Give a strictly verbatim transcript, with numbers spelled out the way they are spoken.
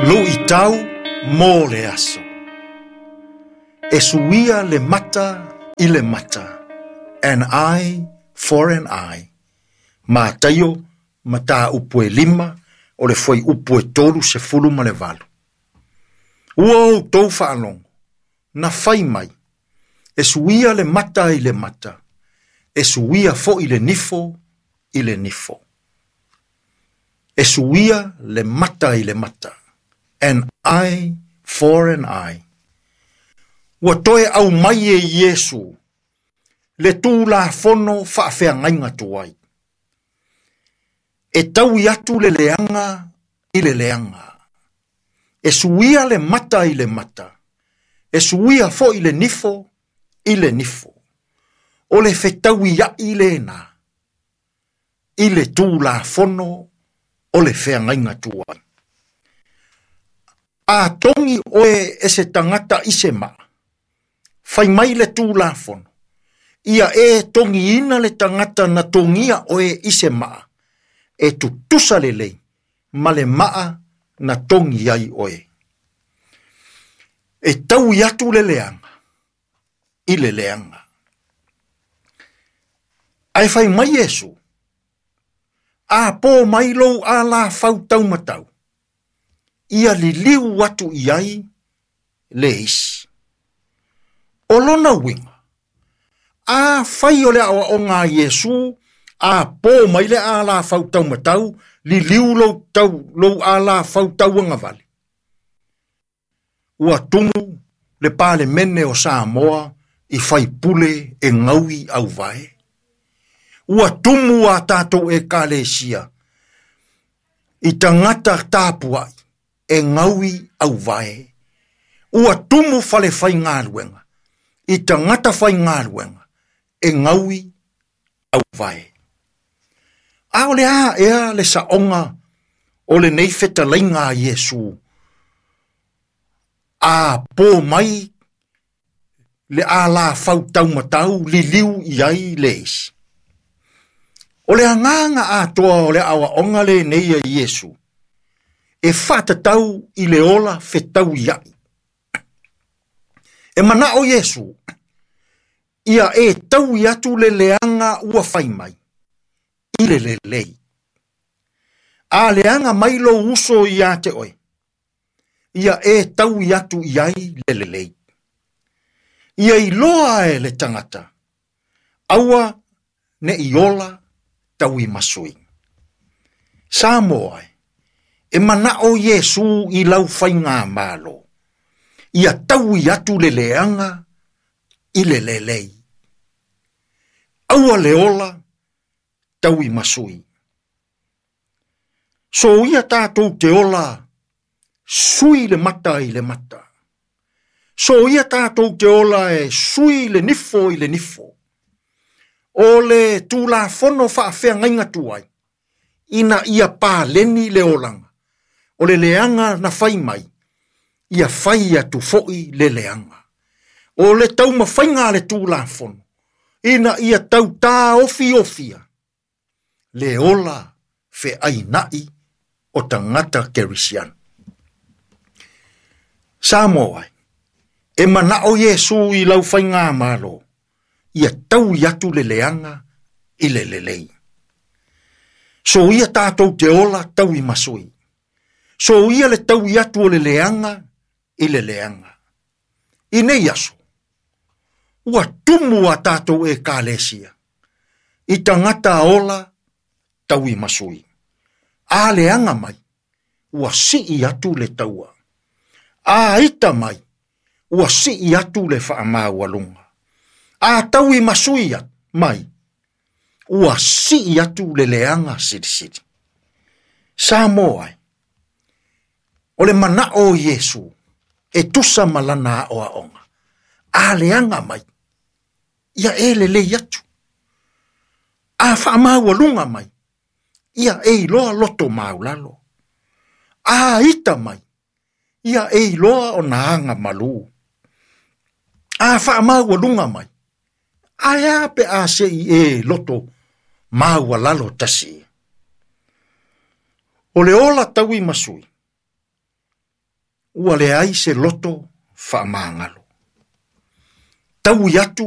Luʻitau mo le aso. E suia le mata i le mata, an eye for an eye. Mataio mataupu e lima o le fuaiupu e tolu sefulu ma le valu. Ua outou faalogo, na fai mai, e suia le mata i le mata, e suia foʻi le nifo i le nifo. E suia le mata i le mata, an eye for an eye. Ua toe aumai e Iesu, le Tulafono faafeagaiga tuai. E taui atu le leaga i le leaga. E suia le mata i le mata. E suia foʻi le nifo i le nifo. O le fetauiaʻi lena i le Tulafono o le feagaiga tuai. A togi oe e se tagata i se maa, fai mai le Tulafono, ia e togiina le tagata na togia oe i se maa, e tutusa lelei ma le maa na togi ai oe. E taui atu le leaga i le leaga. Ae fai mai Iesu, a po mai lou alafau taumatau, ia liliu atu i ai le isi. O lona uiga, a fai o le aoaoga a Iesu, a po mai le alafau taumatau, liliu lou tau, lou alafau tauagavale. Ua tumu le Palemene o Samoa i faipule e gaui auvae. Ua tumu a tatou ekalesia i tagata tapuai e gaui auvae. Ua tumu fale faigaluega i tagata faigaluega e gaui auvae. A o le a ea le saoga o lenei fetalaiga a Iesu, a po mai le alafau taumatau liliu i ai le isi. O le agaga atoa o le aoaoga lenei a Iesu, e faatatau i le ola fetauiaʻi. E manao Iesu, ia e taui atu le leaga ua fai mai, i le lelei. A leaga mai lou uso ia te oe, ia e taui atu i ai le lelei. Ia iloa e le tagata, aua neʻi ola tauimasui. Samoa e, e manao Iesu i lau faigamalo, ia taui atu le leaga i le lelei. Aua le ola tauimasui. So ia tatou te ola sui le mata i le mata. So ia tatou te ola e sui le nifo i le nifo. O le Tulafono faafeagaiga tuai, ina ia paleni le olaga. O le leaga na fai mai, ia fai atu foʻi le leaga. O le taumafaiga a le Tulafono, ina ia tautaofiofia le ola feainaʻi o tagata kerisiano. Samoa e, e manao Iesu i lau faigamalo, ia taui atu le leaga i le lelei. So ia tatou te ola tauimasui. So ia le taui atu o le leaga i le leaga. I nei aso, ua tumu a tatou ekalesia, i tagata ola tauimasui. A leaga mai, ua sii atu le taua. A ita mai, ua sii atu le faamaualuga. A tauimasui mai, ua sii atu le leaga silisili. Samoa e, o le manao o Iesu, e tusa ma lana aoaoga. A leaga mai, ia e lelei atu. A faamaualuga mai, ia e iloa loto maulalo. A ita mai, ia e iloa ona aga malu. A faamaualuga mai, ae a pe a sei e loto maualalo tasi. O le ola tauimasui, Ua leai se loto faamagalo. Taui atu